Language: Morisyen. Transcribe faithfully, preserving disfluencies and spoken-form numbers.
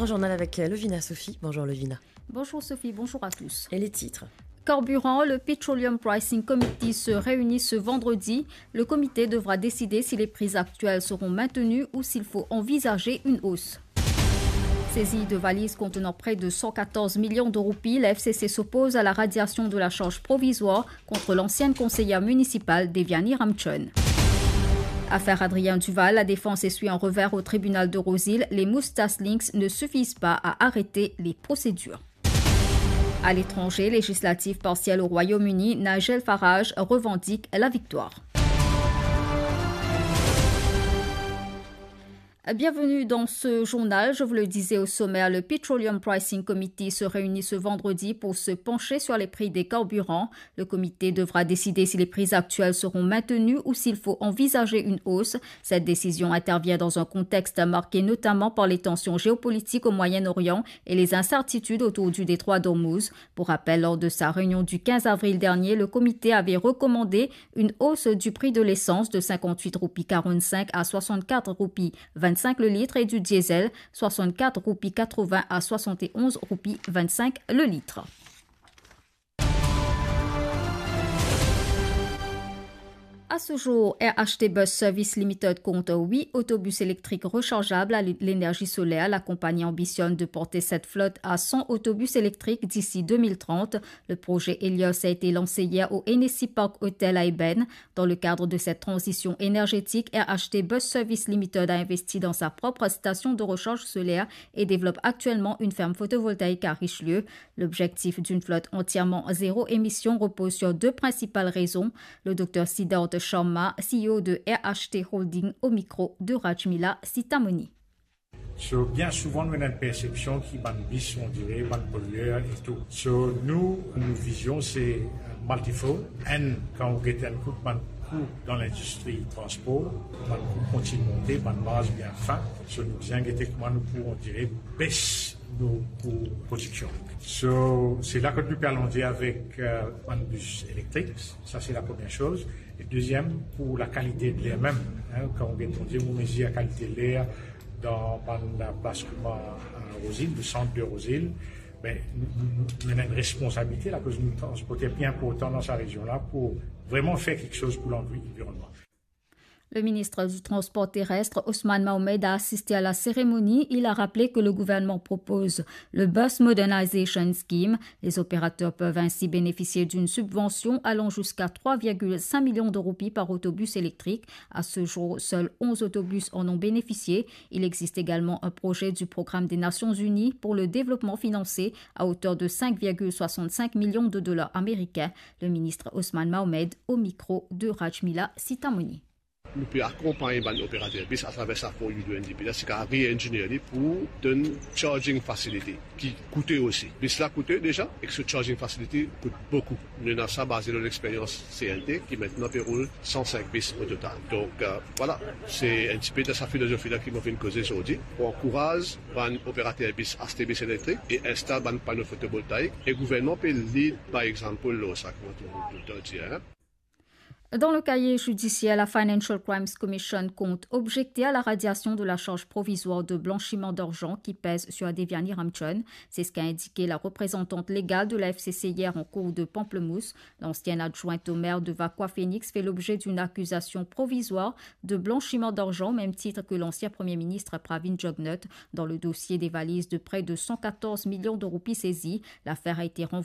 Un journal avec, euh, Lovina Sophie. Bonjour Lovina. Bonjour Sophie, bonjour à tous. Et les titres ? Carburant, le Petroleum Pricing Committee se réunit ce vendredi. Le comité devra décider si les prix actuels seront maintenus ou s'il faut envisager une hausse. Saisie de valises contenant près de cent quatorze millions de roupies, la F C C s'oppose à la radiation de la charge provisoire contre l'ancienne conseillère municipale Deviani Ramchun. Affaire Adrien Duval, la défense essuie un revers au tribunal de Rose-Île. Les moustaches Lynx ne suffisent pas à arrêter les procédures. À l'étranger, législatives partielles au Royaume-Uni, Nigel Farage revendique la victoire. Bienvenue dans ce journal. Je vous le disais au sommaire, le Petroleum Pricing Committee se réunit ce vendredi pour se pencher sur les prix des carburants. Le comité devra décider si les prix actuels seront maintenus ou s'il faut envisager une hausse. Cette décision intervient dans un contexte marqué notamment par les tensions géopolitiques au Moyen-Orient et les incertitudes autour du détroit d'Ormuz. Pour rappel, lors de sa réunion du quinze avril dernier, le comité avait recommandé une hausse du prix de l'essence de cinquante-huit roupies quarante-cinq à soixante-quatre roupies vingt-cinq le litre et du diesel, soixante-quatre roupies quatre-vingts à soixante et onze roupies vingt-cinq le litre. À ce jour, R H T Bus Service Limited compte huit autobus électriques rechargeables à l'énergie solaire. La compagnie ambitionne de porter cette flotte à cent autobus électriques d'ici deux mille trente. Le projet Helios a été lancé hier au Hennessy Park Hotel à Ébène. Dans le cadre de cette transition énergétique, R H T Bus Service Limited a investi dans sa propre station de recharge solaire et développe actuellement une ferme photovoltaïque à Richelieu. L'objectif d'une flotte entièrement zéro émission repose sur deux principales raisons. Le docteur Siddharth Sharma, C E O de R H T Holding, au micro de Rajmila Sitamoni. So, bien souvan, nou ena enn persepsion ki bann bis, on dirait, bann polyer e tou. So, nou, nou vizion, se, euh, multifold. Enn, kan ou get enn kout bann kou dan lindistri transpor, bann kou kontign monte, bann marz bien fin. So, nou bizin gete kouma nou pou, on dirait, bes nou kou prodiksion. So, se la kot nou pe alonze avek, euh, bann bis elektrik. Sa, se la premie soz. E deziem, pou lakalite de ler mem, hein, kan ou get, on dirait, ou mezir lakalite de ler dan bann plas kouma, euh, Rose-Île, le sant de Rose-Île, be, nou, nou, nou, nou ena enn responsabilite la, akoz nou transporter pli inportan dan sa rezion la pou vreman fer kiksoz pou lanvi-, lanvironnman. Le ministre du Transport terrestre, Ousmane Mahomed, a assisté à la cérémonie. Il a rappelé que le gouvernement propose le Bus Modernization Scheme. Les opérateurs peuvent ainsi bénéficier d'une subvention allant jusqu'à trois virgule cinq millions de roupies par autobus électrique. À ce jour, seuls onze autobus en ont bénéficié. Il existe également un projet du programme des Nations Unies pour le développement financé à hauteur de cinq virgule soixante-cinq millions de dollars américains. Le ministre Ousmane Mahomed au micro de Rajmila Sitamoni. Nou pe akonpagn bann operater bis atraver sa fon U N D P la, se kapav re-engineer li pou donn charging facility ki koute osi. Bis la koute deza, ek so charging facility kout boukou. Nou ena sa baze lor lexperyans C N T, ki aster pe roul san sink bis o total. Donk, euh, vwala, se enn tipe dan sa filozofi la ki mo finn koze zordi, pou ankouraz bann operater bis aste bis elektrik e instal bann pano fotovoltaik, e gouvernman pe lead by example lor sa, kouma nou toultan dir, hein. Dans le cahier judiciaire, la Financial Crimes Commission compte objecter à la radiation de la charge provisoire de blanchiment d'argent qui pèse sur Deviani Ramchun. C'est ce qu'a indiqué la représentante légale de la F C C hier en cour de Pamplemousse. L'ancienne adjointe au maire de Vacoas Phoenix fait l'objet d'une accusation provisoire de blanchiment d'argent au même titre que l'ancien premier ministre Pravin Jugnauth dans le dossier des valises de près de cent quatorze millions de roupies saisies. L'affaire a été renvoyée